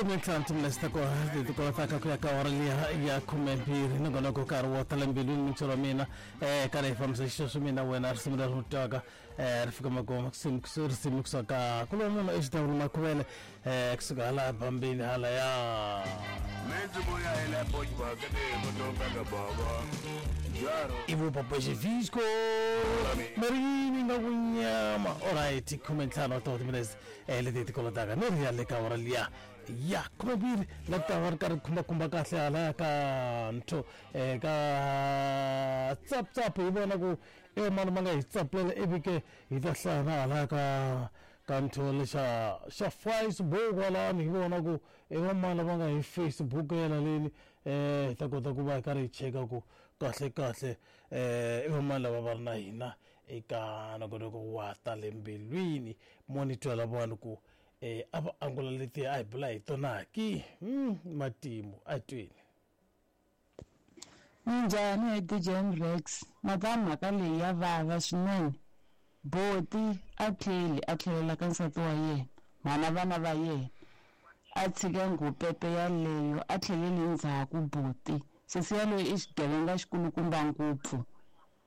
15 timinetse ta kona leti kolotaka ku ya ka awara liya ya 12 nongonoko nkarhi wo tala mbilwini mintsho wa mina karhi hi fambisa xisweswo mina wena risimu leri ri twaka ri fika makumu risimu kusuka ku lowu munhu exitawuni makhuvele kusuka hala bambini hala ya ivupapaxivisco marini nga ku nyama alright 15 wa timinetse leti ti kolotaka ni ri ya le ka awara liya ya 12 la ku ta va ri karhi khumbakhumba kahle halaya ka ntho ka tsaptsap hi vona ku e mani ma nga hi tsapulela ivi ke hi ta hlaya na halaya ka ntho lexa xa Facebook kwalani hi vona ku i vamani lava nga hi Facebookela leni hi ta kota ku va hi karhi hi cheka ku kahle kahle i vamani lava va ri na hina eka nongonoko wa ta le mbilwini mo ni twela vanhu ku a va angula leti a hi bula hi tona ki matimu a hi tweni. Minjhani he DJ Mrex mhaka mhaka leyi ya vava swinene boti a tlheli a tlhelela ka nsati wa yena mhana vana va yena a tshika nghupepe yaleyo a tlheleli ndzhaku boti sesi yaloye i xigevenga xikulukumba ngopfu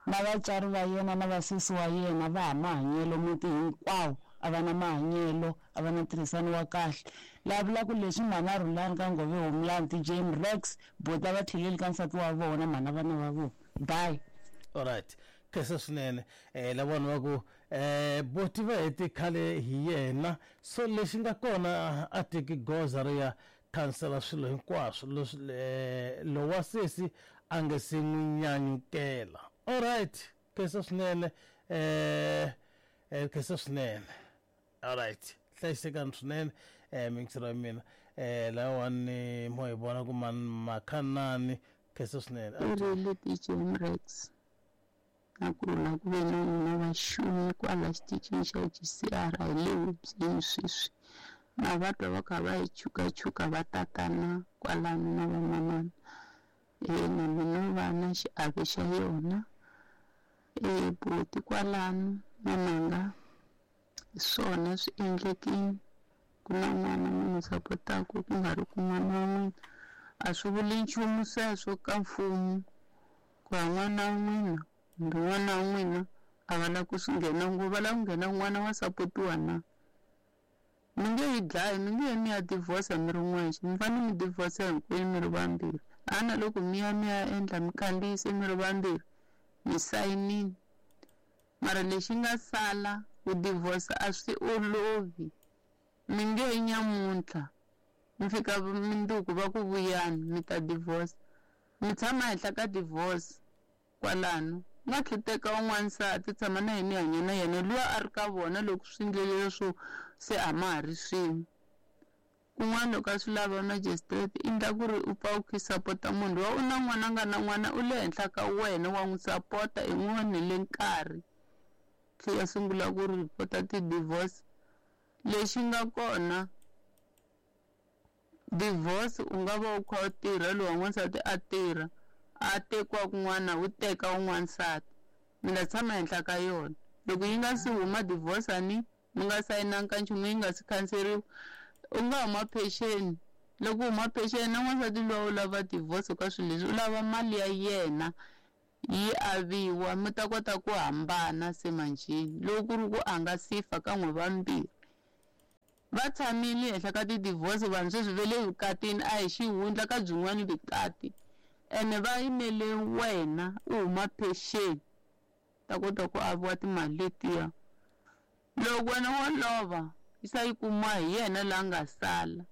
na vatswari va yena na vasesi wa yena va ha mahanyelo muti hinkwawo a va na mahanyelo a va na ntirhisano wa kahle laha vulaka leswi mhana Rhulani ka Ngove Homeland DJ Mrex boti a va tlheleli ka nsati wa vona mhana vana va vona bye. Alright khensa swinene la vanhu va ku boti va hete khale hi yena so lexi nga kona a teki goza ro ya khansela swilo hinkwaswo leswi lowa sesi a nge se n'wi nyanyukela. Alright khensa swinene khensa swinene. Alright hlayisekani swinene mingiselo ya mina lawani mo hi vona ku makhanani khensa swinene. Rile DJ Mrex na ku rhula ku ve na n'wina vaxumi kwala xitichini xa GCR hi le hubyeni sweswi na va twa va kha va hi chukachuka va tatana kwalano na vamanana na mina va na xiave xa yona boti kwalano na manga hi swona swi endlekile ku na n'wana mi n'wi sapotaku ku nga ri ku n'wana wa n'wina a swi vuli nchumu sweswo ka mfumo ku ha n'wana wa n'wina kumbe n'wana wa n'wina a va lava ku swi nghena ngopfu va lava ku nghena n'wana wa sapotiwa na mi nge yi dlayi mi nge mi ya divorce mi ri n'wexe mi fanele mi divorce hinkwenu mi ri vambirhi a na loko mi ya mi ya endla mi khandziyise mi ri vambirhi mi sayinini mara lexi nga sala ku divorce a swi olovi mi nge nyamuntlha mi fika minduku va ku vuyani mi ta divorce mi tshama henhla ka divorce kwalano nga tlhuteka un'wansati tshama na yena hanya na yena luya a ri ka vona loko swi ndlele leswo se a ma ha ri swin'we kun'wana loko a swi lava magistrate i endla ku ri u pfa u kha sapota munhu loyi u na n'wana nga na n'wana u le henhla ka wena wa n'wi sapota i n'wi onhele nkarhi tlhe ya sungula ku ripota ti-divorce lexi nga kona divorce u nga va u kha u tirha lowu n'wansati a tirha a tekiwa kun'wana u teka un'wansati mi nga tshama henhla ka yona loko yi nga si huma divorce ani mi nga sayinanga ka nchumu yi nga si khanseriwa u nga huma pension loko u huma pension na n'wansati luwa u lava divorce ka swilo leswi u lava mali ya yena yi aviwa mi ta kota ku hambana se manjheni loko ku ri ku a nga si fa ka n'we vambirhi va tshamile henhla ka ti-divorce vanhu sweswi ve le vukatini a hi xihundla ka byin'wana vukati ene va yimele wena u huma pension ta kota ku aviwa timali letiya loko wena wo lova yi sa yi kumiwa hi yena la nga sala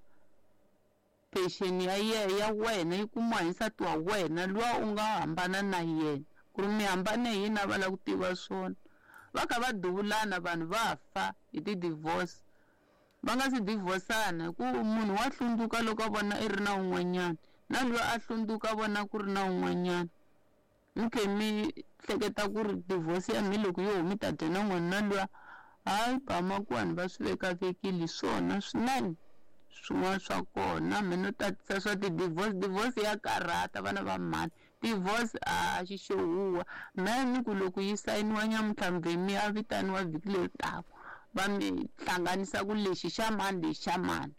pension ya ya wena yi kumiwa hi nsati wa wena luwa u nga hambana na yena ku ri mi hambane hi yini a va lava ku tiva swona va kha va duvulana vanhu va fa hi ti-divorce va nga si divorcana hi ku munhu wa hlundzuka loko a vona i ri na un'wanyana na luya a hlundzuka a vona ku ri na un'wanyana mi khe mi hleketa ku ri divorce ya mi loko yo mi ta dya na n'wana na luya hayi bamakwani va swi vekavekile swona swinene swin'wana swa kona mi no tatisa swa ti-divorce divorce ya karhata vana va mhani divorce a xi xo huwa mehe ni ku loko yi sayiniwa nyamuntlha mve mi ya vitaniwa vhiki leri taka va mi hlanganisa ku lexi xa mani lexi xa mani.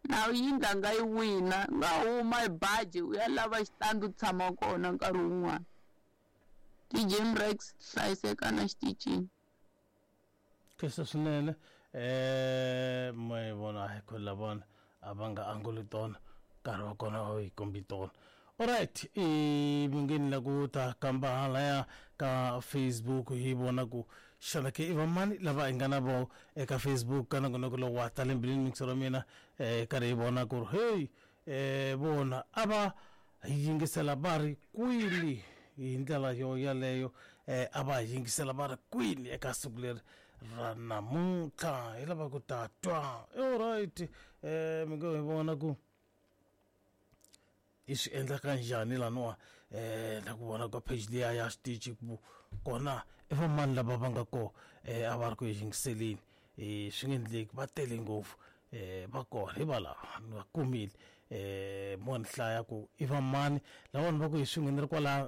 Na yindlu nga yi wina nga huma hi baji u ya lava xitandi u tshama kona nkarhi wun'wana. DJ Mrex hlayiseka na xitichini. Khensa swinene ma yi vona hi ku lavana a va nga anguli tona nkarhi wa kona a wu yi kombi tona. Alright, i mi nge ni la ku ta kamba halaya ka Facebook hi vona ku xana ke i vamani lava hi nga na vo eka Facebook ka nongonoko lowu wa tale mbilwini mixer wa mina karhi hi vona ku ri hey vona a va yingisela va ri kwini hi ndlela yo yaleyo a va yingisela va ri kwini eka siku leri ra namuntlha hi lava ku ta twa. Alright, mi nge hi vona ku i swi endlaka njhani laniwa na ku vona ka page liya ya xitichi ku kona i vamani lava va nga kona a va ri ku yingiseleni swi nge endleki va tele ngopfu va kona hi valava ni va kumile mo ni hlaya ku i vamani lavani va ku hi swin'we ni ri kwala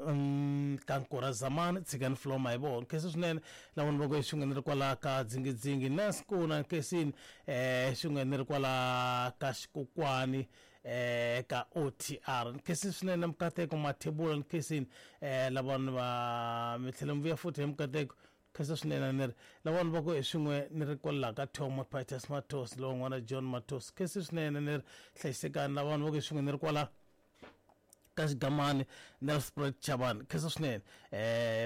ka Nkora Zamani tshikani floma hi vona khensa swinene lavani va ku hi swin'we ni ri kwala ka Dzingidzingi Naskuna Nkesini swin'we ni ri kwala ka Xikokwani ka OTR Nkesini swinene Mukateko Mathebula Nkesini lavani va mi tlhela mi vuya futhi hi Mukateko khensa swinene ni ri lavani va ku hi swin'we ni ri kwala ka Thomo Titus Matos lowun'wana John Matos khensa swinene ni ri hlayisekani lavani va ku hi swin'we ni ri kwala ka Xigamani Nelspruit Chavani khensa swinene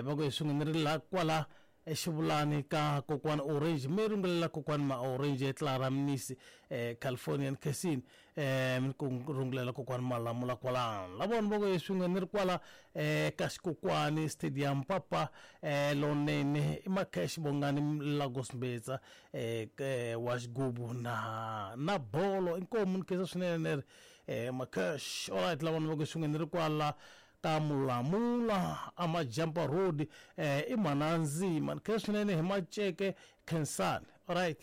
va ku hi swin'we ni ri la kwala exivulani ka kokwani Orange mi rungulela kokwani ma Orange Clara Mnisi California Nkesini mi ku rungulela kokwani Malamula kwalano lavona va ku hi swin'we ni ri kwala ka Xikokwani Stadium papa lonene i Makhesh Bongani Lagos Mbetsa wa xigubu na bolo inkomu ni khensa swinene ni ri Makhesh. Alright, lavona va ku hi swin'we ni ri kwala ka Mulamula Amajampa Road i Manandzima ni khensa swinene hi Maceke Khensani. Alright,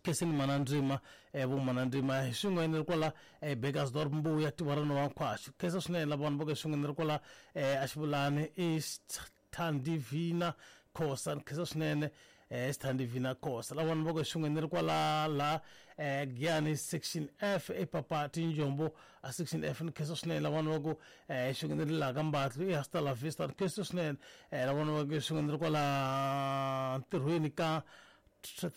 Khensani Manandzima vo Manandzima hi swin'we ni ri kwala Burgersdorp Mbuya Tivarano wa Nkhwashu khensa swinene lavona va ku hi swin'we ni ri kwala Axivulani i Thandivina Khosa ni khensa swinene Thandivina Khosa lavona va ku hi swin'we ni ri kwala la Giyani section F epapa Tinjombo a section F ni khensa swinene lavona va ku hi swin'we ni ri laha ka Mbatlu i Hasta la Vista ni khensa swinene lavona va ku hi swin'we ni ri kwala ntirhweni ka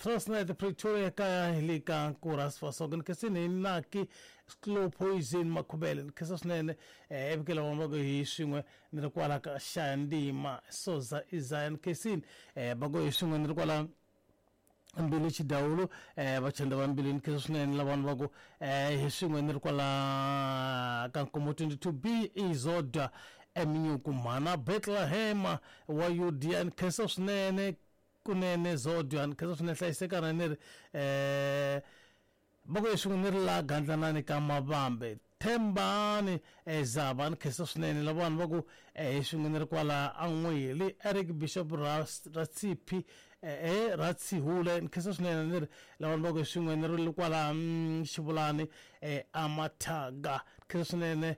Transnet Pretoria kaya hi le ka Nkuras Fasoka ni khensini hi Naki Slow Poison Makhubele ni khensa swinene evike lavona va ku hi swin'we ni ri kwala ka Xayandima Soza Isaya ni khensini va ku hi swin'we ni ri kwala Mbilu Xidawulu vachanda va Mbilu ni khensa swinene lavana va ku hi swin'we ni ri kwala ka Nkomo 22B Izodwa Eminyuku Mhana Bethlehem wa Yudiya ni khensa swinene kunene Zodwa ni khensa swinene hlayisekana ni ri va ku hi swin'we ni ri la Gandlanani ka Mavambe Thembani Zava ni khensa swinene lavana va ku hi swin'we ni ri kwala An'weli Eric Bishop Ratsipi Ratsihule ni khensa swinene ni ri lavana va ku hi swin'we ni ri kwala Xivulani Amathaga ni khensa swinene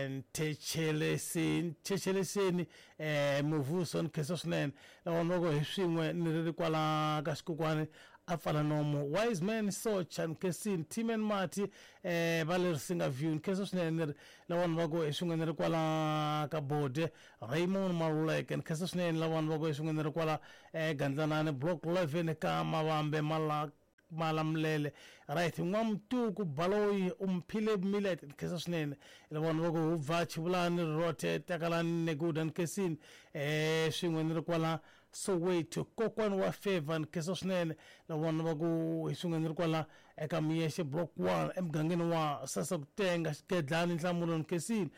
Nthetheleseni Muvuso ni khensa swinene lavana va ku hi swin'we ni ri kwala ka Xikokwani a pfala nomo Wise Man Socha Nkesini Timen Mati va le Risinga View ni khensa swinene ni ri lavana va ku hi swin'we ni ri kwala ka Bode Raymond Maluleke ni khensa swinene lavana va ku hi swin'we ni ri kwala Gandlanani Block 11 ka Mavambe Malamulele. Right, N'wamutuku Baloyi Umphile Millet ni khensa swinene lavana va ku hubva Chivulani Rote Takalani Neguda ni khensini swin'we ni ri kwala Soweto kokwani wa Favor ni khensa swinene lavona va ku hi swin'we ni ri kwala eka Miyexe Block 1 emugangeni wa Sasa Kutenga Xigedlani Nhlamulo ni khensini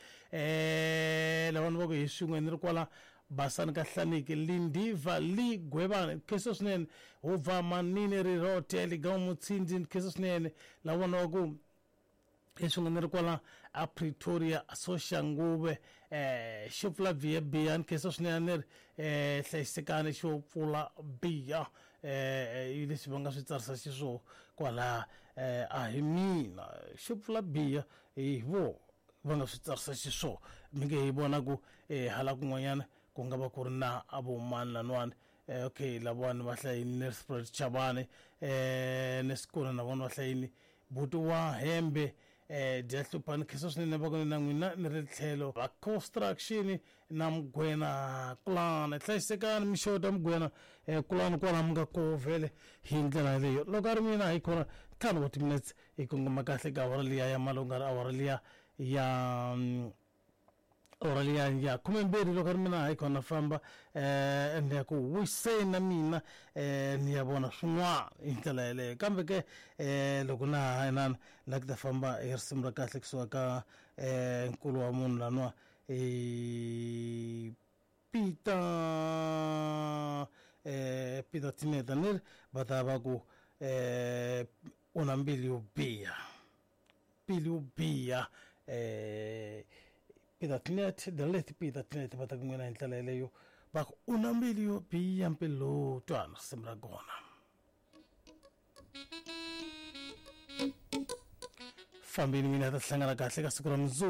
lavona va ku hi swin'we ni ri kwala Basani ka Hlaniki Lindiva Li Gwevani ni khensa swinene hubva Manini Rirote Ligamu Mutsindzi ni khensa swinene lavona va ku hi swin'we ni ri kwala a Pretoria Soshanguve xo pfula biya biya ni khensa swinene ni ri hlayisekani xo pfula biya leswi va nga swi tsarisa xiswona kwala a hi mina xo pfula biya hi vo va nga swi tsarisa xiswona mi nge hi vona ku hala kun'wanyana ku nga va ku ri na vomani laniwani okay lavawani va hlayini Nelspruit Chavani Nesikona na vona va hlayini. Buti wa hembe um dya hlupha ni khensa swinene va ku na n'wina ni ri tlhelo va construction na mugwena kulana hlayisekani mixota mugwena um kulani kwala mi nga koho vhele hi ndlela yaleyo loko a ri mina hi khona ntlhanu wa timinetse hi kongoma kahle ka awara liya ya malunga awara liya ya awara liya ya khumembirhi loko a ri mina hayi khona famba um ni ya ku wiseni na mina um ni ya vona swin'wana hi ndlela yeleyo kambe ke um loko na ha inana la ku ta famba hi risimu ra kahle kusuka ka um nkulu wa munhu laniwa Peter um Peter Tineta ni ri va ta va ku um u na mbilu yo biha mbilu yo biha um Peter Tinet the late Peter Tinet va ta ku n'wina hi ndlela yeleyo va ku u na mbilu yo biha mbilu twana risimu ra kona fambeni mina ta hlangana kahle ka siku ra mundzuku.